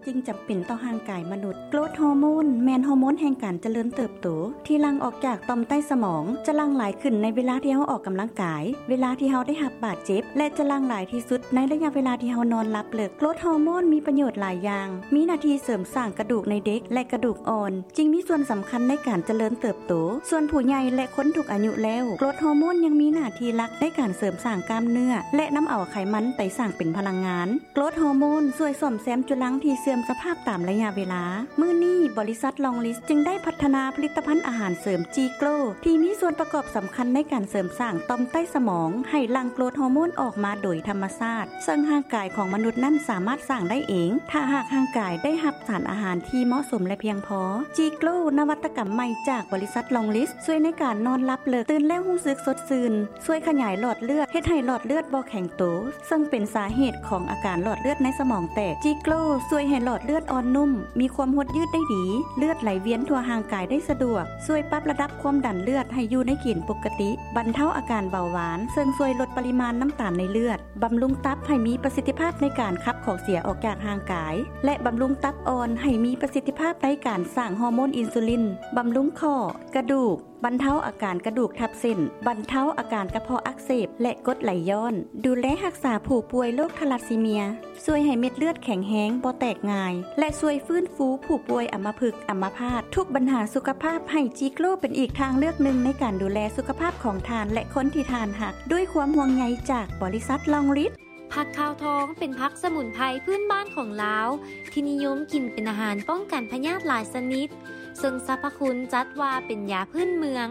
ຈຶ່ງຈຳເປັນຕໍ່ຮ່າງກາຍມະນຸດ. ໂກຣດຮໍໂມນແມ່ນຮໍໂມນແຫ່ງການຈະເລີນເຕີບໂຕ ທີ່ຫຼັ່ງອອກຈາກຕ່ອມໃຕ້ສະໝອງ, ຈະຫຼັ່ງຫຼາຍຂຶ້ນໃນເວລາທີ່ເຮົາອອກກຳລັງກາຍ, ເວລາທີ່ເຮົາໄດ້ຮັບບາດເຈັບ ແລະ ຈະຫຼັ່ງຫຼາຍທີ່ສຸດໃນໄລຍະເວລາທີ່ເຮົານອນຫຼັບເລິກ. ໂກຣດຮໍໂມນມີປະໂຫຍດຫຼາຍຢ່າງ, ມີໜ້າທີ່ເສີມສ້າງກະດູກໃນເດັກ ແລະ ກະດູກອ່ອນ, ຈຶ່ງມີສ່ວນສຳຄັນໃນການຈະເລີນເຕີບໂຕ. ສ່ວນຜູ້ໃຫຍ່ ແລະ ຄົນທຸກອາຍຸແລ້ວ, ໂກຣດຮໍໂມນຍັງມີໜ້າທີ່ຫຼັກໃນການເສີມສ້າງກ້າມເນື້ອ ແລະ ນຳເອົາໄຂມັນໄປສ້າງເປັນພະລັງງານ. ໂກຣດຮໍໂມນຊ່ວຍສ້ອມແຊມຈຸລັງທີ່ເສື່ອມສະພາບຕາມໄລຍະເວລາ. ມື້ນີ້, ບໍລິສັດລອງລິດຈຶ່ງໄດ້ພັດທະນາຜະລິດຕະພັນອາຫານເສີມຈີໂກຣ ທີ່ມີສ່ວນປະກອບສຳຄັນໃນການເສີມສ້າງຕ່ອມໃຕ້ສະໝອງໃຫ້ຫຼັ່ງໂກຣດຮໍໂມນອອກມາໂດຍທຳມະຊາດ, ເຊິ່ງຮ່າງກາຍຂອງມະນຸດນັ້ນສາມາດສ້າງໄດ້ເອງ ຖ້າຫາກຮ່າງກາຍໄດ້ຮັບສານອາຫານທີ່ເໝາະສົມ ແລະ ພຽງພໍ. ຈີໂກຣ ນະວັດຕະກຳໃໝ່ຈາກບໍລິສັດລອງລິດ ຊ່ວຍໃນການນອນຫຼັບເລິກ, ຕື່ນແລ້ວຮູ້ສຶກສົດຊື່ນ, ຊ່ວຍຂະຫຍາຍຫຼອດເລືອດ, ເຮັດໃຫ້ຫຼອດເລືອດບໍ່ແຂງໂຕ, ເຊິ່ງເປັນສາເຫດຂອງອາການຫຼອດເລືອດໃນສະໝອງແຕກ. ຈີໂກຣຊ່ວຍໃຫ້ຫຼອດເລືອດອ່ອນນຸ້ມ, ມີຄວາມຫົດຍືດໄດ້ດີ, ເລືອດໄຫຼວຽນທົ່ວຮ່າງກາຍໄດ້ສະດວກ, ຊ່ວຍປັບລະດັບຄວາມດັນເລືອດໃຫ້ຢູ່ໃນເກນປົກກະຕິ, ບັນເທົາອາການເບົາຫວານ, ເຊິ່ງຊ່ວຍລົດປະລິມານນ້ຳຕານໃນເລືອດ, ບຳລຸງຕັບໃຫ້ມີປະສິດທິພາບໃນການຂັບຂອງເສຍອອກຈາກຮ່າງກາຍ ແລະ ບຳລຸງຕັບອ່ອນໃຫ້ມີປະສິດທິພາບໃນການສ້າງຮໍໂມນອິນຊູລິນ, ບຳລຸງຂໍ້, ກະດູກ, ບັນເທົາອາການກະດູກທັບເສັ້ນ, ບັນເທົາອາການກະເພາະອັກເສບ ແລະ ກົດໄຫຼຍ້ອນ, ດູແລຮັກສາຜູ້ປ່ວຍໂລກທາລາຊີເມຍ, ຊ່ວຍໃຫ້ເມັດເລືອດແຂງແຮງ, ບໍ່ແຕກງ່າຍ ແລະ ຊ່ວຍຟື້ນຟູຜູ້ປ່ວຍອຳມະພຶກ, ອຳມະພາດ. ທຸກບັນຫາສຸຂະພາບ, ໃຫ້ຈີໂກຣເປັນອີກທາງເລືອກໜຶ່ງໃນການດູແລສຸຂະພາບຂອງທ່ານ ແລະ ຄົນທີ່ທ່ານຮັກ, ດ້ວຍຄວາມຫ່ວງໃຍຈາກບໍລິສັດລອງລິດ. ຜັກຂາວທອງເປັນຜັກສະໝຸນໄພພື້ນບ້ານຂອງລາວ ທີ່ນິຍົມກິນເປັນອາຫານປ້ອງກັນພະຍາດຫຼາຍຊະນິດ, ເຊິ່ງສັບພະຄຸນຈັດວ່າເປັນຢາພື້ນເມືອງ.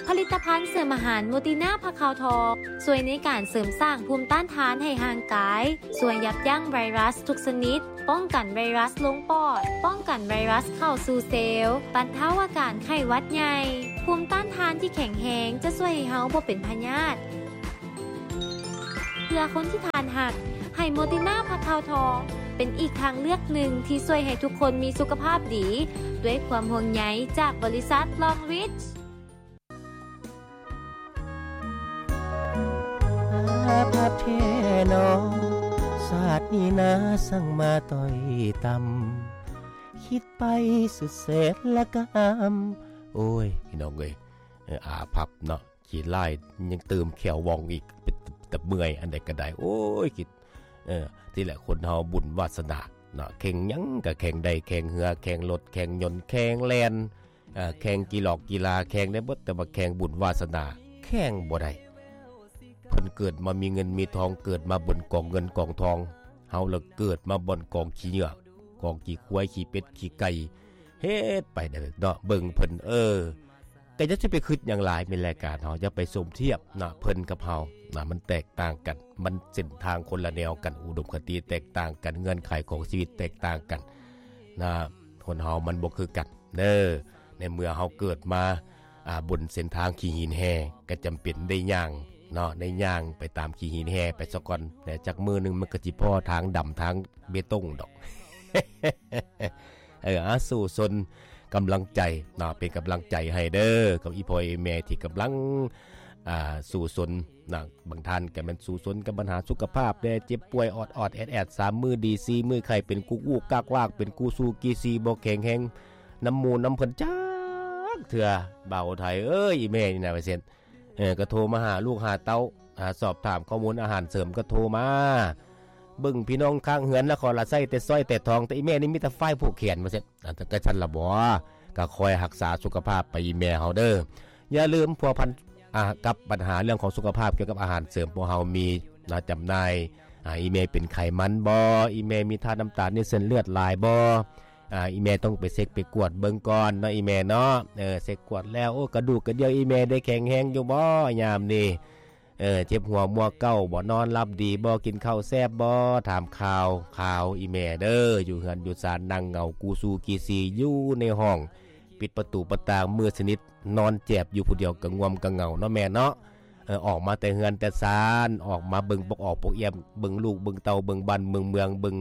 ຜະລິດຕະພັນເສີມອາຫານໂມຕິນາຜັກຂາວທອງ ຊ່ວຍໃນການເສີມສ້າງພູມຕ້ານທານໃຫ້ຮ່າງກາຍ, ຊ່ວຍຢັບຢັ້ງໄວຣັສທຸກຊະນິດ, ປ້ອງກັນໄວຣັສລົງປອດ, ປ້ອງກັນໄວຣັສເຂົ້າສູ່ເຊວ, ບັນເທົາອາການໄຂ້ຫວັດໃຫຍ່. ພູມຕ້ານທານທີ່ແຂງແຮງຈະຊ່ວຍໃຫ້ເຮົາບໍ່ເປັນພະຍາດ. ເພື່ອຄົນທີ່ທ່ານຮັກ, ໃຫ້ໂມຕິນາຜັກຂາວທອງ ເປັນອີກທາງເລືອກໜຶ່ງທີ່ຊ່ວຍໃຫ້ທຸກຄົນມີສຸຂະພາບດີ, ດ້ວຍຄວາມຫ່ວງໃຍຈາກບໍລິສັດລອງຣິດ. ອາ ພັບແທ້ເນາະ ຊາດນີ້ນາ ສັງມາຕ້ອຍຕ່ຳ ຄິດໄປສຸດແສນລະກຳ. ໂອ້ຍ ພີ່ນ້ອງເອີຍ ເອີ ອາພັບເນາະ ຂີ້ລາຍຍັງຕື່ມແຂ້ວວ່ອງອີກ ເປັນຕາເມື່ອຍ ອັນໃດກໍໄດ້ ໂອ້ຍ ຄິດ ເອີ ທີ່ແຫຼະ ຄົນເຮົາບຸນວາສະໜາເນາະ ແຂ່ງຫຍັງກໍແຂ່ງໄດ້ ແຂ່ງເຮືອ ແຂ່ງລົດ ແຂ່ງຍົນ ແຂ່ງແລ່ນ ເອີ ແຂ່ງກິຫຼອກກິລາ ແຂ່ງໄດ້ເບິດ ແຕ່ວ່າແຂ່ງບຸນວາສະໜາ ແຂ່ງບໍ່ໄດ້. ເພິ່ນເກີດມາມີເງິນມີທອງ ເກີດມາບ່ອນກອງເງິນກອງທອງ ເຮົາລະເກີດມາບ່ອນກອງຂີ້ເຫຍື້ອ ກອງຂີ້ຄວາຍ ຂີ້ເປັດ ຂີ້ໄກ່ ເຮັດໄປເດີເນາະ ເບິ່ງເພິ່ນ ເອີ ກໍຢ່າຊິໄປຄິດຫຍັງຫຼາຍ ແມ່ນລາຍການເຮົາ ຢ່າໄປສົມທຽບນະ ເພິ່ນກັບເຮົານະ ມັນແຕກຕ່າງກັນ ມັນເສັ້ນທາງຄົນລະແນວກັນ ອຸດົມຄະຕິແຕກຕ່າງກັນ ເງື່ອນໄຂຂອງຊີວິດແຕກຕ່າງກັນນະ ຄົນເຮົາມັນບໍ່ຄືກັນເດີ. ໃນເມື່ອເຮົາເກີດມາ ອ່າ ບົນເສັ້ນທາງຂີ້ຫີນແຮ່ ກໍຈຳເປັນໄດ້ຍ່າງເນາະ ໄດ້ຍ່າງໄປຕາມຂີ້ຫີນແຮ່ໄປສາກ່ອນ ແຕ່ຈັກມື້ໜຶ່ງມັນກໍຊິພໍ້ທາງດຳທາງເບຕົງດອກ. ເອີ ອາ ສູ້ຊົນ ກຳລັງໃຈເນາະ ເປັນກຳລັງໃຈໃຫ້ເດີ ກັບອີ່ພໍ່ອີ່ແມ່ທີ່ກຳລັງ ອ່າ ສູ້ຊົນນະ. ບາງທ່ານກໍແມ່ນສູ້ຊົນກັບບັນຫາສຸຂະພາບແດ່ ເຈັບປ່ວຍອອດໆແອດໆ ສາມມື້ດີ ສີ່ມື້ໄຂ້ ເປັນກຸກວຸກກັກວາກ ເປັນກູຊູກີຊີ ບໍ່ແຂງແຮງນຳໝູ່ນຳເພິ່ນຈັກເທື່ອ. ບ່າວໄທເອີຍ ອີ່ແມ່ນີ້ນະ ວ່າຊັ້ນ ເອີ ກໍໂທມາຫາລູກຫາເຕົ້າ ຫາສອບຖາມຂໍ້ມູນອາຫານເສີມ ກໍໂທມາເບິ່ງພີ່ນ້ອງຂ້າງເຮືອນ ລະຂໍລະໃຊ້ແຕ່ສ້ອຍແຕ່ທອງ ແຕ່ອີ່ແມ່ນີ້ມີແຕ່ຝ້າຍຜູກແຂນ ວ່າຊັ້ນ. ອາ ກໍຊັ້ນລະບໍ ກໍຄອຍຮັກສາສຸຂະພາບໄປອີ່ແມ່ເຮົາເດີ. ຢ່າລືມພົວພັນ ອ່າ ກັບບັນຫາເລື່ອງຂອງສຸຂະພາບກ່ຽວກັບອາຫານເສີມ ພວກເຮົາມີນະ ຈຳໜ່າຍ. ອ່າ ອີ່ແມ່ເປັນໄຂມັນບໍ່? ອີ່ແມ່ມີທາດນ້ຳຕານໃນເສັ້ນເລືອດຫຼາຍບໍ່? ອ່າ ອີ່ແມ່ຕ້ອງໄປເຊັກໄປກວດເບິ່ງກ່ອນເນາະ ອີ່ແມ່ເນາະ. ເອີ ເຊັກກວດແລ້ວ ໂອ້ ກະດູກກະດຽວອີ່ແມ່ໄດ້ແຂງແຮງຢູ່ບໍ່ຍາມນີ້? ເອີ ເຈັບຫົວມົວເກົ້າບໍ່? ນອນຫຼັບດີບໍ່? ກິນເຂົ້າແຊບບໍ່? ຖາມຂ່າວ ຂ່າວອີ່ແມ່ເດີ ຢູ່ເຮືອນຢູ່ຊານ ນັ່ງເຫງົາກູຊູກີຊີຢູ່ໃນຫ້ອງ ປິດປະຕູປະຕ່າງມືດສະໜິດ ນອນແຈບຢູ່ຜູ້ດຽວ ກະງ່ວມກະເຫງົາເນາະແມ່ເນາະ. ເອີ ອອກມາແຕ່ເຮືອນແຕ່ຊານ ອອກມາເບິ່ງປົກອອກປົກອຽມ ເບິ່ງລູກເບິ່ງເຕົ້າ ເບິ່ງບ້ານເບິ່ງເມືອງ ເບິ່ງ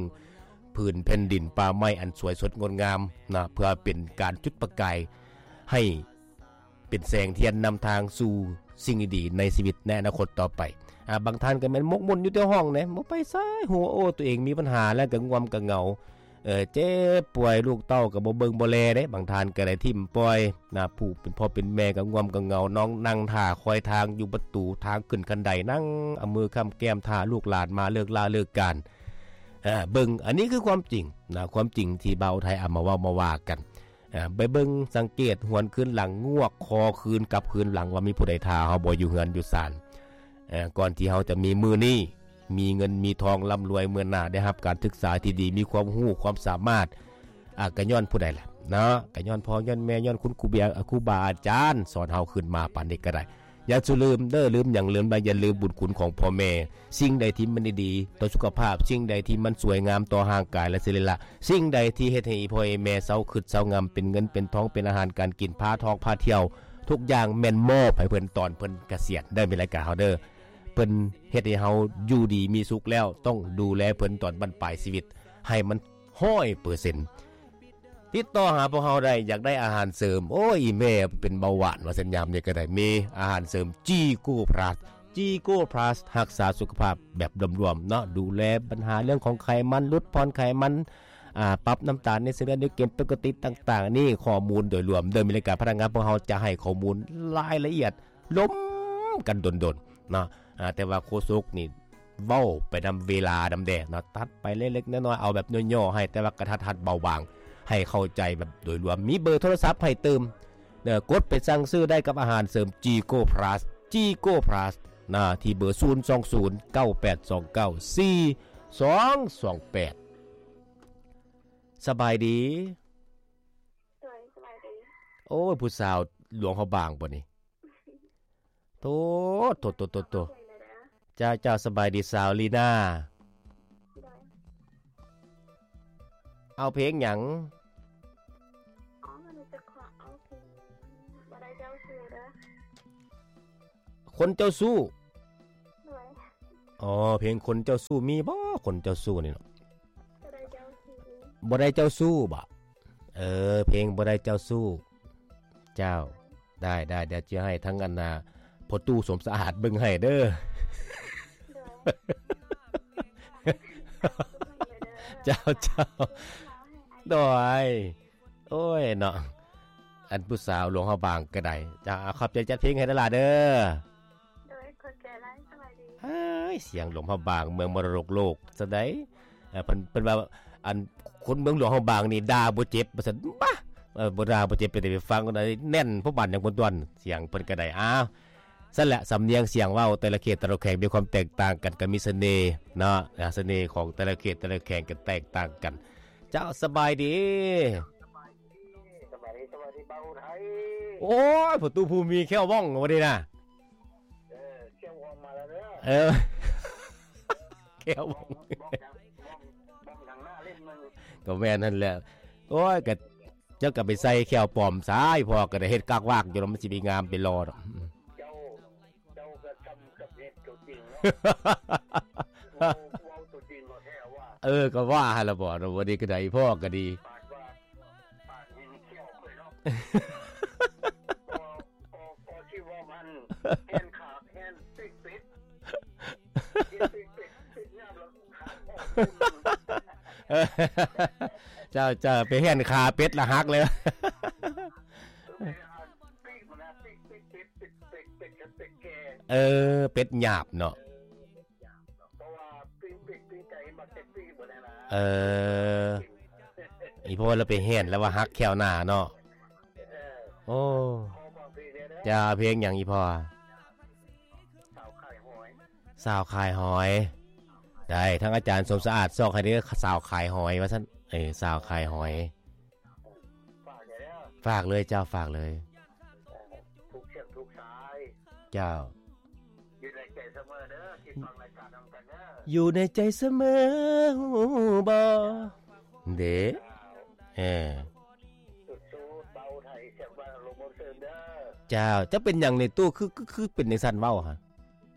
ຜືນແຜ່ນດິນປ່າໄມ້ອັນສວຍສົດງົດງາມນະ ເພື່ອເປັນການຈຸດປະກາຍໃຫ້ເປັນແສງທຽນນຳທາງສູ່ສິ່ງດີໆໃນຊີວິດໃນອະນາຄົດຕໍ່ໄປ. ອາ ບາງທ່ານກໍແມ່ນໝົກໝຸ່ນຢູ່ແຕ່ຫ້ອງເດ້ ບໍ່ໄປໃສ ຮູ້ວ່າ ໂອ້ ຕົວເອງມີບັນຫາແລ້ວ ກະງ່ວມກະເຫງົາ ເອີ ເຈັບປ່ວຍ ລູກເຕົ້າກໍບໍ່ເບິ່ງບໍ່ແລເດ້ ບາງທ່ານກໍໄດ້ຖິ້ມປ່ອຍນະ ຜູ້ເປັນພໍ່ເປັນແມ່ກໍງ່ວມກໍເຫງົາ ນ້ອງນັ່ງຖ້າຄອຍທາງຢູ່ປະຕູທາງຂຶ້ນຄັນໄດ ນັ່ງເອົາມືຄ້ຳແກ້ມຖ້າລູກຫຼານມາເລີກລາເລີກການ ເອີ ເບິ່ງ ອັນນີ້ຄືຄວາມຈິງນະ ຄວາມຈິງທີ່ບ່າວໄທເອົາມາເວົ້າມາວ່າກັນ ເອີ ໄປເບິ່ງສັງເກດຫວນຄືນຫຼັງ ງວກຄໍຄືນກັບຄືນຫຼັງວ່າມີຜູ້ໃດຖ້າເຮົາບໍ່ຢູ່ເຮືອນຢູ່ຊານ ເອີ ກ່ອນທີ່ເຮົາຈະມີມື້ນີ້ ມີເງິນມີທອງ ລ່ຳລວຍ ເມືອໜ້າ ໄດ້ຮັບການສຶກສາທີ່ດີ ມີຄວາມຮູ້ຄວາມສາມາດ ອາ ກະຍ້ອນຜູ້ໃດລະເນາະ ກະຍ້ອນພໍ່ຍ້ອນແມ່ ຍ້ອນຄຸນຄູເບຍ ຄູບາອາຈານ ສອນເຮົາຂຶ້ນມາປານນີ້ກໍໄດ້. ຢ່າສູ່ລືມເດີ ລືມຫຍັງລືມໄດ້ ຢ່າລືມບຸນຄຸນຂອງພໍ່ແມ່. ສິ່ງໃດທີ່ມັນດີໆຕໍ່ສຸຂະພາບ ສິ່ງໃດທີ່ມັນສວຍງາມຕໍ່ຮ່າງກາຍ ແລະ ສິລິລະ ສິ່ງໃດທີ່ເຮັດໃຫ້ອີ່ພໍ່ອີ່ແມ່ເຊົາຄຶດເຊົາງຳ ເປັນເງິນເປັນທອງ ເປັນອາຫານການກິນ ພາທ່ອງພາທ່ຽວ ທຸກຢ່າງແມ່ນມອບໃຫ້ເພິ່ນຕອນເພິ່ນກະສຽນເດີ ມີລາຍການເຮົາເດີ. ເພິ່ນເຮັດໃຫ້ເຮົາຢູ່ດີມີສຸກແລ້ວ ຕ້ອງດູແລເພິ່ນຕອນບັ້ນປາຍຊີວິດໃຫ້ມັນຮ້ອຍເປີເຊັນ. ຕິດຕໍ່ຫາພວກເຮົາໄດ້ ຢາກໄດ້ອາຫານເສີມ ໂອ້ຍ ອີ່ແມ່ເປັນເບົາຫວານວ່າຊັ້ນ ຍາມນີ້ກໍໄດ້ ມີອາຫານເສີມຈີໂກພລັສ ຈີໂກພລັສ ຮັກສາສຸຂະພາບແບບລວມໆເນາະ ດູແລບັນຫາເລື່ອງຂອງໄຂມັນ ຫຼຸດຜ່ອນໄຂມັນ ອາ ປັບນ້ຳຕານໃນເສັ້ນເລືອດ ໃນເກນປົກກະຕິຕ່າງໆ ນີ້ຂໍ້ມູນໂດຍລວມເດີ ມີລາຍການພະນັກງານ ພວກເຮົາຈະໃຫ້ຂໍ້ມູນລາຍລະອຽດ ລົມກັນດົນໆເນາະ ອາ ແຕ່ວ່າໂຄສົກນີ້ເວົ້າໄປນຳເວລານຳແດ່ເນາະ ຕັດໄປເລັກໆນ້ອຍໆ ເອົາແບບຫຍໍ້ໆໃຫ້ ແຕ່ວ່າກະທັດຮັດເບົາບາງ ໃຫ້ເຂົ້າໃຈແບບໂດຍລວມ ມີເບີໂທລະສັບໃຫ້ຕື່ມເດີ ກົດໄປສັ່ງຊື້ໄດ້ກັບອາຫານເສີມຈີໂກພລັສ ຈີໂກພລັສນະ ທີ່ເບີ ສູນສອງສູນ ເກົ້າແປດສອງເກົ້າ ສີ່ສອງສອງແປດ. ສະບາຍດີ. ໂດຍ ສະບາຍດີ. ໂອ້ຍ ຜູ້ສາວຫຼວງພະບາງບໍ່ນີ້? ໂທ້ ໂທ້ ໂທ້ ໂທ້ ໂທ້ ເຈົ້າ ເຈົ້າ ສະບາຍດີສາວລີນາ. ໂດຍ. ເອົາເພງຫຍັງ? ອໍ ມັນຈະຂໍເອົາເພງ ບໍ່ໄດ້ເຈົ້າຊູ້ເດີ. ຄົນເຈົ້າຊູ້. ໂດຍ. ອໍ ເພງຄົນເຈົ້າຊູ້ ມີບໍ່ຄົນເຈົ້າຊູ້ນີ້ເນາະ? ບໍ່ໄດ້ເຈົ້າຊູ້. ບໍ່ໄດ້ເຈົ້າຊູ້ບໍ? ເອີ ເພງບໍ່ໄດ້ເຈົ້າຊູ້. ເຈົ້າ. ໄດ້ ໄດ້ ດຽວຈະໃຫ້ທາງອັນນ່າ ພໍ່ຕູ້ສົມສະອາດເບິ່ງໃຫ້ເດີ. ໂດຍ. ເຈົ້າ ເຈົ້າ. ໂດຍ. ໂອ້ຍເນາະ ອັນຜູ້ສາວຫຼວງພະບາງກໍໄດ້. ເຈົ້າ ຂອບໃຈຈັດເພງໃຫ້ເດີຫຼ້າເດີ. ໂດຍ ຂອບໃຈຫຼາຍ. ສະບາຍດີ. ເຮີ້ຍ ສຽງຫຼວງພະບາງ ເມືອງມໍລະດົກໂລກຊະໃດ໋. ເອີ ເພິ່ນ ເພິ່ນວ່າ ອັນ ຄົນເມືອງຫຼວງພະບາງນີ້ດ່າບໍ່ເຈັບວ່າຊັ້ນ. ບາ ເອີ ບໍ່ດ່າບໍ່ເຈັບ ເປັນໄດ້ໄປຟັງໄດ້ແໜ້ນພໍປານຫຍັງ ເພິ່ນຕົວະ ສຽງເພິ່ນກໍໄດ້. ອ້າວ ຊັ້ນແຫຼະ ສຳນຽງສຽງເວົ້າແຕ່ລະເຂດແຕ່ລະແຂວງມີຄວາມແຕກຕ່າງກັນ ກໍມີສະເໜ່ເນາະ ອາ ສະເໜ່ຂອງແຕ່ລະເຂດແຕ່ລະແຂວງກໍແຕກຕ່າງກັນ. ເຈົ້າ ສະບາຍດີ. ສະບາຍດີ ສະບາຍດີ ສະບາຍດີບ່າວໄທ. ໂອ້ຍ ພໍ່ຕູ້ຜູ້ມີແຂ້ວວ່ອງວັນນີ້ນະ. ເອີ ແຂ້ວວ່ອງມາແລ້ວເດີ. ເອີ ແຂ້ວວ່ອງ ວ່ອງ ວ່ອງທາງ ວ່ອງ ວ່ອງທາງໜ້າເຫຼັ້ມໜຶ່ງ. ກໍແມ່ນຫັ້ນແຫຼະ. ໂອ້ຍ ກໍ ເຈົ້າກໍໄປໃສ່ແຂ້ວປອມຊາ ອີ່ພໍ່ກໍໄດ້ເຮັດກາກວາກຢູ່ ແລ້ວມັນຊິໄປງາມໄປຫຼໍ່ດອກ. ເຈົ້າ ເຈົ້າກໍຊ່ຳກັບເຮັດຕົວຈິງເນາະ. ເວົ້າ ເວົ້າຕົວຈິງກໍແທ້ວ່າ. ເອີ ກໍວ່າຫັ້ນລະບໍ ວັນນີ້ກໍໄດ້ ພໍ່ກໍດີ. ປານວ່າ ປານເຫັນແຂ້ວຂ້ອຍເນາະ. ກໍ ກໍ ກໍຊິເວົ້າມັນ ແຮນຂາ ແຮນເປັກເປັດ ເປັກເປັດ ເປັກຍາມລະ ເຈົ້າ ເຈົ້າ ໄປແຮນຂາເປັດລະຫັກເລີຍ. ເອີ ເປັດຫຍາບເນາະ. ເອີ ອີ່ພໍ່ລະໄປແຮນລະວ່າຫັກແຂ້ວໜ້າເນາະ. ໂອ້ ເຈົ້າ ເພງຫຍັງອີ່ພໍ່? ສາວຂາຍຫອຍ. ໄດ້ ທາງອາຈານສົມສະອາດຊອກໃຫ້ເດີ ສາວຂາຍຫອຍວ່າຊັ້ນ. ເອີ ສາວຂາຍຫອຍ. ຝາກເລີຍເຈົ້າ ຝາກເລີຍ. ເຈົ້າ ຢູ່ໃນໃຈສະເໝີເດີ ທີ່ຟັງລາຍການນຳກັນເດີ ຢູ່ໃນໃຈສະເໝີ ຮູ້ບໍ່ເດ້. ເອີ ສູ້ໆ ເບົາໄທ ສຽງບ້ານລົມເຊີນເດີ. ເຈົ້າ ເຈົ້າເປັນຫຍັງນີ້ຕູ້ ຄື ຄື ຄືເປັນຈັ່ງຊັ້ນເວົ້າຫະ?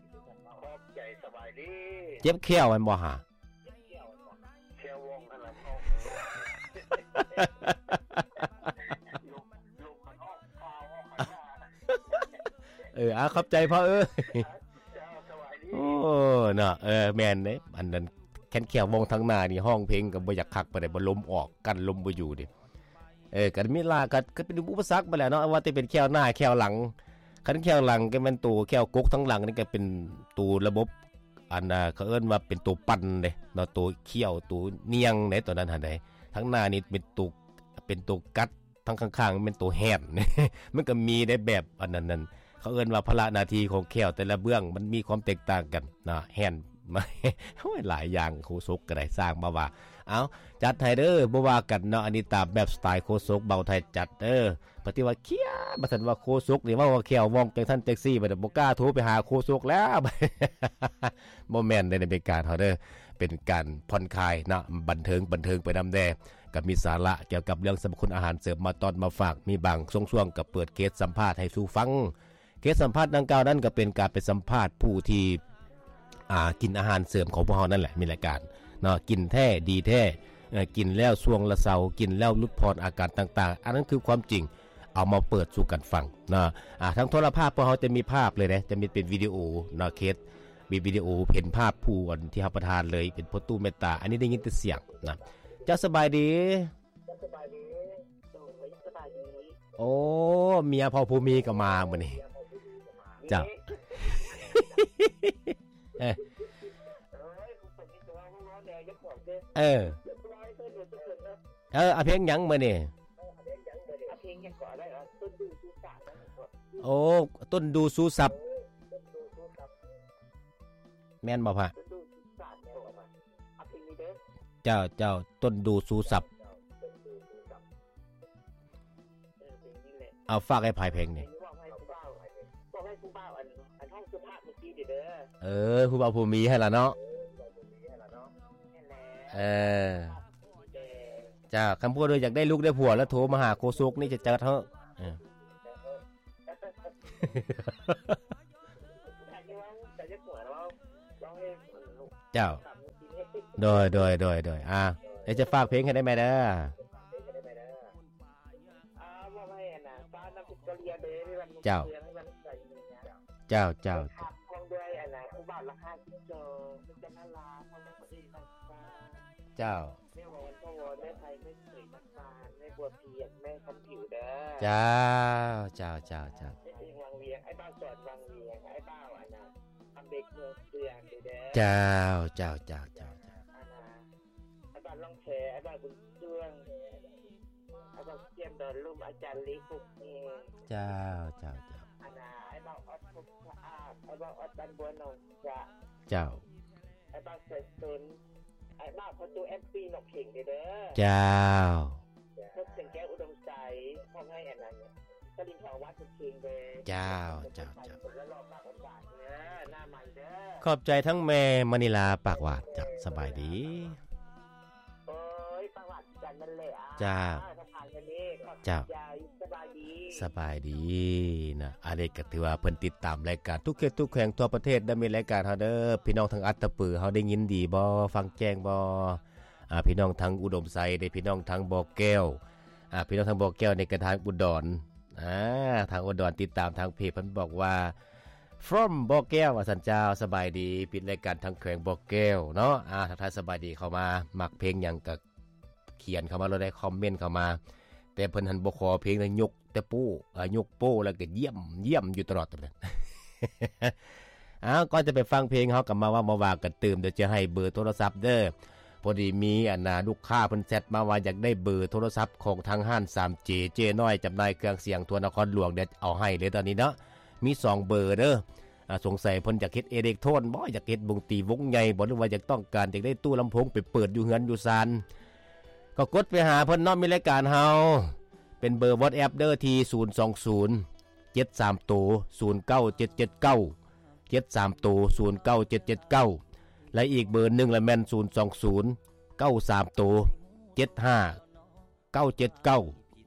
ຂອບໃຈ ສະບາຍດີ. ເຈັບແຂ້ວແມ່ນບໍ່ຫະ? ແຂ້ວວ່ອງຫັ້ນລະ. ເອີ ອາ ຂອບໃຈພໍ່ເອີຍ. ໂອ້ ເນາະ ເອີ ແມ່ນເດ້ ອັນນັ້ນ ຄັນແຂ້ວວອງທາງໜ້ານີ້ຮ້ອງເພງກໍບໍ່ຢາກຄັກປານໃດ ບໍ່ ລົມອອກ ກັ້ນລົມບໍ່ຢູ່ເດ້. ເອີ ກໍມີລາ ກໍ ກໍເປັນອຸປະສັກໄປແຫຼະເນາະ ວ່າແຕ່ເປັນແຂ້ວໜ້າແຂ້ວຫຼັງ. ຄັນແຂ້ວຫຼັງກໍແມ່ນໂຕແຂ້ວກົກທາງຫຼັງນີ້ ກໍເປັນໂຕລະບົບ ອັນ ເຂົາເອີ້ນວ່າເປັນໂຕປັ່ນເດ້ເນາະ ໂຕຄ້ຽວ ໂຕນຽງເດ້ ໂຕນັ້ນຫັ້ນເດ້. ທາງໜ້ານີ້ເປັນໂຕ ເປັນໂຕກັດ ທາງຂ້າງໆ ແມ່ນໂຕແຮນ. ມັນກໍມີໄດ້ແບບອັນນັ້ນນັ້ນ ເຂົາເອີ້ນວ່າພາລະໜ້າທີ່ຂອງແຂ້ວແຕ່ລະເບື້ອງ ມັນມີຄວາມແຕກຕ່າງກັນນະ ແຮນ ໂອ້ຍ ຫຼາຍຢ່າງ ໂຄສົກກໍໄດ້ ສ້າງມາວ່າ. ເອົ້າ ຈັດໃຫ້ເດີ ບໍ່ວ່າກັນເນາະ ອັນນີ້ຕາມແບບສະໄຕໂຄສົກເບົາໄທຈັດເດີ. ປະຕິວ່າຄຽດ ບໍ່ທັນວ່າໂຄສົກນີ້ເວົ້າວ່າແຂ້ວວອງຈັ່ງຊັ້ນຈັ່ງຊີ້ ບັດນີ້ບໍ່ກ້າໂທໄປຫາໂຄສົກແລ້ວ. ບໍ່ແມ່ນໃນອາເມລິກາເຮົາເດີ ເປັນການຜ່ອນຄາຍເນາະ ບັນເທີງ ບັນເທີງໄປນຳແດ່ ກໍມີສາລະກ່ຽວກັບເລື່ອງສັບພະຄຸນອາຫານເສີມມາຕ້ອນມາຝາກ ມີບາງຊ່ວງໆກໍເປີດເຄສສຳພາດໃຫ້ສູ່ຟັງ. ເຄສສຳພາດດັ່ງກ່າວນັ້ນກໍເປັນການໄປສຳພາດຜູ້ທີ່ ອ່າ ກິນອາຫານເສີມຂອງພວກເຮົານັ້ນແຫຼະ ມີລາຍການເນາະ ກິນແທ້ ດີແທ້ ເອີ ກິນແລ້ວຊ່ວງລະເຊົາ ກິນແລ້ວຫຼຸດຜ່ອນອາການຕ່າງໆ ອັນນັ້ນຄືຄວາມຈິງ ເອົາມາເປີດສູ່ກັນຟັງເນາະ. ອ່າ ທາງໂທລະພາບພວກເຮົາຈະມີພາບເລີຍເດ້ ຈະມີເປັນວິດີໂອເນາະ ເຄສ ມີວິດີໂອເຫັນພາບຜູ້ອັນທີ່ຮັບປະທານເລີຍ ເປັນພໍ່ຕູ້ແມ່ນຕາ ອັນນີ້ໄດ້ຍິນແຕ່ສຽງນະ. ເຈົ້າສະບາຍດີ. ສະບາຍດີ ໂດຍ ສະບາຍດີ. ໂອ້ ເມຍພໍ່ຜູ້ມີກໍມາມື້ນີ້. ເຈົ້າ ເອີ ເອີ ເອີ ເອົາເພງຫຍັງມື້ນີ້? ໂອ້ ຕົ້ນດູຊູສັບ ແມ່ນບໍ່ພະ? ເຈົ້າ ເຈົ້າ ຕົ້ນດູຊູສັບ. ເອີ ເພງນີ້ແຫຼະ ເອົາ ຝາກໃຫ້ໃຜເພງນີ້? ບອກໃຫ້ຜູ້ບ່າວ ບອກໃຫ້ຜູ້ບ່າວອັນ ອັນຫ້ອງສຸພາບເມື່ອກີ້ເດີ. ເອີ ຜູ້ບ່າວຜູ້ມີຫັ້ນລະເນາະ. ແມ່ນແຫຼະ ເອີ ເຈົ້າ ຄັນຜູ້ໃດຢາກໄດ້ລູກໄດ້ຜົວແລ້ວໂທມາຫາໂຄສົກນີ້ຈະຈັດເຮົາ. ເອີ ເຈົ້າ ໂດຍ ໂດຍ ໂດຍ ໂດຍ ອ່າ ດຽວຈະຝາກເພງໃຫ້ໄດ້ແມ່ເດີ. ອ່າ ເວົ້າໃຫ້ອັນນ່າ ຟ້ານ້ຳພິກກະເລຍເດີ ເຈົ້າ ເຈົ້າ ເຈົ້າ ເຈົ້າ ພວງດ້ວຍອັນນ່າ ຜູ້ບ່າວລາຄາສິບສອງ ເປັນຈັນນາລາ ຂອງນາງເອກນາງຟ້າ ເຈົ້າ ແມ່ວອນ ພໍ່ວອນ ແມ່ໄພ ແມ່ເຂີຍ ນ້ຳຕານ ແມ່ບົວພຽງ ແມ່ຄຳຜິວເດີ. ເຈົ້າ ເຈົ້າ ເຈົ້າ ເຈົ້າ ແມ່ເອງວັງວຽງ ອ້າຍບ່າວສອນວັງວຽງ ອ້າຍບ່າວອັນນ່າ ຄຳເດັກເມືອງເຊືອງເດີ. ເຈົ້າ ເຈົ້າ ເຈົ້າ ເຈົ້າ ເຈົ້າ ອັນນ່າ ອ້າຍບ່າວລ້ອງແພ ອ້າຍບ່າວບຸນຊ່ວງ ອ້າຍບ່າວກຽມດອນລຸ່ມ ອາຈານລີຄຸກເອງ. ເຈົ້າ ເຈົ້າ ເຈົ້າ ອັນນ່າ ອ້າຍບ່າວອອດພົບສະອາດ ອ້າຍບ່າວອອດບ້ານບົວໜອງຈະ. ເຈົ້າ ອ້າຍບ່າວສາຍສົນ ອ້າຍບ່າວພໍ່ຕູ້ ເອັຟຊີ ໜອງເຂງເດີ. ເຈົ້າ ພົບແສງແກ້ວ ອຸດົມໄຊ ມອບໃຫ້ອັນນັ້ນ ສະລິນທອງ ວາດສຸເຂງເດີ. ເຈົ້າ ເຈົ້າ ເຈົ້າ ຄົນລະຫຼໍ່ປາກຫວານເດີ ໜ້າໃໝ່ເດີ. ຂອບໃຈທັງແມ່ມະນີລາ ປາກຫວານ. ເຈົ້າ ສະບາຍດີ. ໂອ້ຍ ປາກຫວານຄືກັນນັ້ນແຫຼະ. ເຈົ້າ ເຈົ້າ ສະບາຍດີ ສະບາຍດີນະ. ອັນນີ້ກໍຖືວ່າເພິ່ນຕິດຕາມລາຍການທຸກເຂດທຸກແຂວງທົ່ວປະເທດເດີ ມີລາຍການເຮົາເດີ. ພີ່ນ້ອງທາງອັດຕະປືເຮົາໄດ້ຍິນດີບໍ່? ຟັງແຈ້ງບໍ່? ອ່າ ພີ່ນ້ອງທາງອຸດົມໄຊເດ້ ພີ່ນ້ອງທາງບໍ່ແກ້ວ ອ່າ ພີ່ນ້ອງທາງບໍ່ແກ້ວນີ້ກໍທາງອຸດອນ ອ່າ ທາງອຸດອນຕິດຕາມທາງເພຈ ເພິ່ນບອກວ່າ from ບໍ່ແກ້ວ ວ່າຊັ້ນ. ເຈົ້າ ສະບາຍດີ ປິດລາຍການທາງແຂວງບໍ່ແກ້ວເນາະ. ອ່າ ທັກທາຍສະບາຍດີເຂົ້າມາ ມັກເພງຫຍັງກໍຂຽນເຂົ້າມາໂລດ ໄດ້ຄອມເມັນເຂົ້າມາ ແຕ່ເພິ່ນຫັ້ນບໍ່ຂໍເພງ ແຕ່ຍົກແຕ່ໂປ້ ອ່າ ຍົກໂປ້ແລ້ວກໍຢ້ຽມ ຢ້ຽມຢູ່ຕະຫຼອດ. ອ້າວ ກ່ອນຈະໄປຟັງເພງ ເຮົາກໍມາເວົ້າມາວ່າກັນຕື່ມ ດຽວຈະໃຫ້ເບີໂທລະສັບເດີ. ພໍດີມີອັນນ່າ ລູກຄ້າເພິ່ນແຊັດມາວ່າຢາກໄດ້ເບີໂທລະສັບຂອງທາງຮ້ານ ສາມເຈ ເຈ້ນ້ອຍ ຈຳໜ່າຍເຄື່ອງສຽງທົ່ວນະຄອນຫຼວງ. ດຽວເອົາໃຫ້ເລີຍຕອນນີ້ເນາະ ມີສອງເບີເດີ. ອ່າ ສົງໄສເພິ່ນຢາກເຮັດເອເລັກໂທນບໍ ຢາກເຮັດວົງຕີວົງໃຫຍ່ບໍ ຫຼືວ່າຢາກຕ້ອງການຢາກໄດ້ຕູ້ລຳໂພງໄປເປີດຢູ່ເຮືອນຢູ່ຊານ ກໍກົດໄປຫາເພິ່ນເນາະ. ມີລາຍການເຮົາເປັນເບີວອດແອັບເດີ ທີ່ ສູນສອງສູນ ເຈັດສາມໂຕ ສູນເກົ້າເຈັດເຈັດເກົ້າ ເຈັດສາມໂຕ ສູນເກົ້າເຈັດເຈັດເກົ້າ ແລະ ອີກເບີໜຶ່ງລະແມ່ນ ສູນສອງສູນ ເກົ້າສາມໂຕ ເຈັດຫ້າ ເກົ້າເຈັດເກົ້າ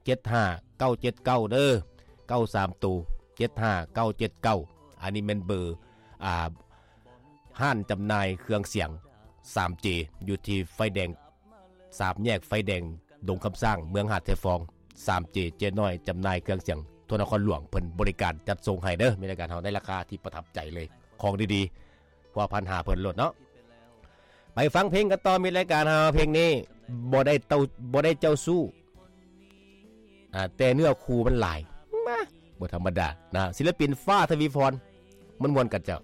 ເຈັດຫ້າ ເກົ້າເຈັດເກົ້າ ເດີ ເກົ້າສາມໂຕ ເຈັດຫ້າ ເກົ້າເຈັດເກົ້າ. ອັນນີ້ແມ່ນເບີ ອ່າ ຮ້ານຈຳໜ່າຍເຄື່ອງສຽງ ສາມເຈ ຢູ່ທີ່ໄຟແດງ ສາມແຍກໄຟແດງ ດົງຄຳສ້າງ ເມືອງຫາດຊາຍຟອງ. ສາມເຈ ເຈ້ນ້ອຍ ຈຳໜ່າຍເຄື່ອງສຽງທົ່ວນະຄອນຫຼວງ ເພິ່ນບໍລິການຈັດສົ່ງໃຫ້ເດີ. ມີລາຍການເຮົາໃນລາຄາທີ່ປະທັບໃຈເລີຍ ຂອງດີໆ ພົວພັນຫາເພິ່ນໂລດເນາະ. ເ ໄປຟັງເພງກັນຕໍ່ ມິດລາຍການເຮົາ ເພງນີ້ບໍ່ໄດ້ເຕົ້າ ບໍ່ໄດ້ເຈົ້າຊູ້ ອ່າ ແຕ່ເນື້ອຄູ່ມັນຫຼາຍ ມາ ບໍ່ທຳມະດານະ ສິລະປິນຟ້າ ທະວີພອນ ມ່ວນໆກັນເຈົ້າ.